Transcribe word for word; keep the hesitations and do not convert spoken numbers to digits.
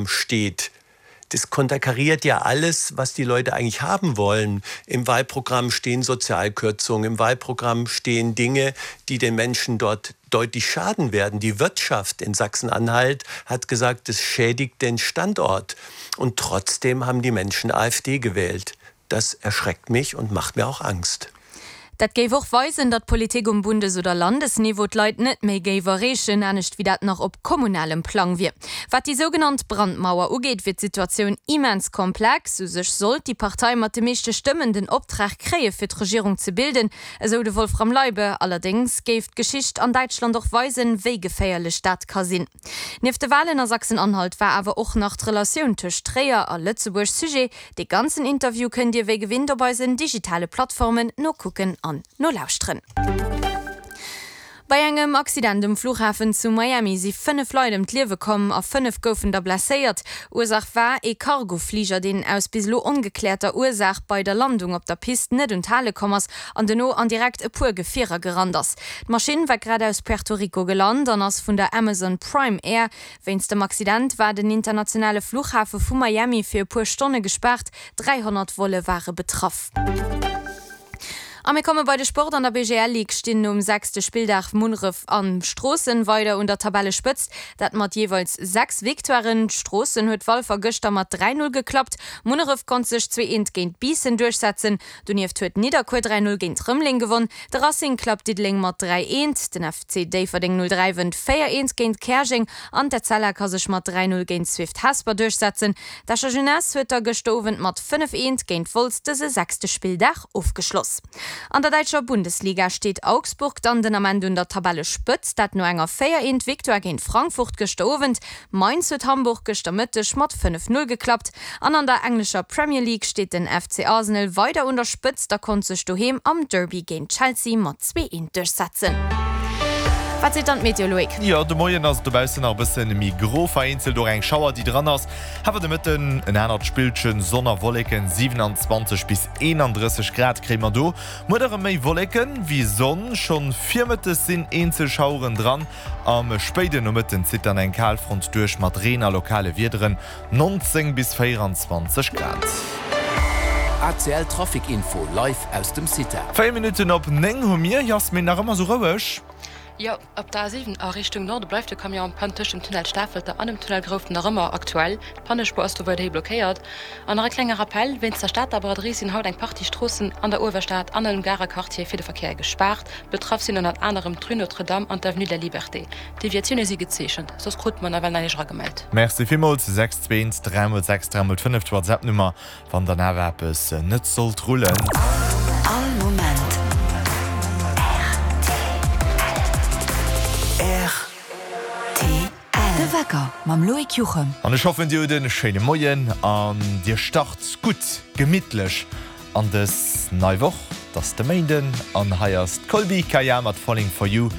steht. Das konterkariert ja alles, was die Leute eigentlich haben wollen. Im Wahlprogramm stehen Sozialkürzungen, im Wahlprogramm stehen Dinge, die den Menschen dort deutlich schaden werden. Die Wirtschaft in Sachsen-Anhalt hat gesagt, es schädigt den Standort. Und trotzdem haben die Menschen AfD gewählt. Das erschreckt mich und macht mir auch Angst. Dat géif och weisen, datt d'Politik um Bundes oder Landesniveau d'Leit net méi géif erreechen, anescht wéi dat nach op kommunalem Plang wier. Wat déi sougenannt Brandmauer ugeet, wier d'Situatioun immens komplex. U sech sollt déi Partei mat de meeschte Stëmmen den Optrag kréie fir d'Regierung ze bilden, esou de Wolfram Leibe. Allerdéngs géif d'Geschicht an Däitschland och weisen, wéi geféierlech dat ka sinn. Nieft de Walen a Sachsen-Anhalt war awer och nach d'Relatioun tëscht Tréier a Lëtzebuerg Sujet. Dee ganzen Interview kënnt Dir wéi gewinnt op eisen digitale Plattformen nokucken an nolauschteren. Bei engem Accident um Flughafen zu Miami si fënnef Leit ëm d'Liewe komm a fënnef goufen der blesséiert. Ursaach war ee Cargofliger, deen aus bis elo ongekläerter Ursaach bei der Landung op der Pist net un d'Hale komm ass an duerno an direkt e puer Gefierer gerannt ass. D'Maschinn war grad aus Puerto Rico gelant an ass vun der Amazon Prime Air. Wéinst dem Accident war den internationale Flughafe vu Miami fir e puer Stonne gespaart, dräihonnert Volle ware betraff. A mir komme bei de Sport. An der B G L Ligue stinn nom sechste Spilldag Munneref an Stroossen weider un der Tabellespëtzt, dat mat jeeweils sechs Victoiren. Stroossen huet Walfer gëschter mat dräi Null geklappt, Munneref konnt sech zwee eent géint Biissen duerchsetzen. Donieft huet Nidderkuer dräi Null géint Rëmeleng gewonn, de Racing klappt Diddeleng mat dräi eent, den F C Déifferdeng null dräi wënnt véier eent géint Käerjeng an d'Etzella ka sech mat dräi Null géint Swift Hesper duerchsetzen. D'Escher Jeunesse huet da gëschter Owend mat fënnef eent géint Wolz dëse sechste Spilldag ofgeschloss. An der däitscher Bundesliga steet Augsburg dann den Ament un der Tabellespëtzt, dat no enger véier eent Victoire géint Frankfurt gëschter Owend. Mainz huet Hamburg gëschter Mëtteg mat fënnef null geklappt. An an der englescher Premier League steet den F C Arsenal weider un der Spëtzt a konnt sech doheem am Derby géint Chelsea mat zwee eent duerchsetzen. Wat seet dann d'Meteo, Loïc? Jo, de Moien ass et dobaussen nach e bëssen méi gro, vereenzelt och eng Schauer, déi dran ass. Awer de Mëtten en anert Spillchen, Sonn a Wolleken, siewenundzwanzeg bis eenandrësseg Grad kréie mer do. Muer erëm méi Wolleken wéi Sonn, schonn virmëttes sinn eenzel Schaueren dran. Am spéiden Nomëtten zitt dann eng Kalfront duerch mat Reen a lokale Wiederen, nonzéng bis véieranzwanzeg Grad. A C L Trafic Info live aus dem CITA. Véier Minutten op néng hu mir, Jasmin, nach ëmmer sou roueg? Jo, op der A siwen a Richtung Norde bleift de Camion en panne tëscht dem Tunnel Stafelter an dem Tunnel Grouft nach ëmmer aktuell. D'Pannespuer ass do weiderhi blockéiert. An nach e klenge Rappell, Wéinst der Stater Braderie sinn haut eng Partie Stroossen an der Uewerstad an am Garer Quartier fir de Verkéier gespaart. Betraff sinn ënnert anerem d'Rue Notre-Dame an d'Avenue de la Liberté. Deviatioune si gezeechent, soss krut mer nawell näischt eragemellt. Merci villmools. Sechs zwee eent dräi mol sechs dräi mol fënnef, d'WhatsApp-Nummer, wann dann awer eppes net sollt rullen. All Moment R T L. De Wecker mam Loïc Juchem. An ech hoffen, dir hutt e schéine Moien an dir start gutt, gemittlech an dës nei Woch. 't ass de Méinden an hei ass d'Colbie Caillat mat Falling For You.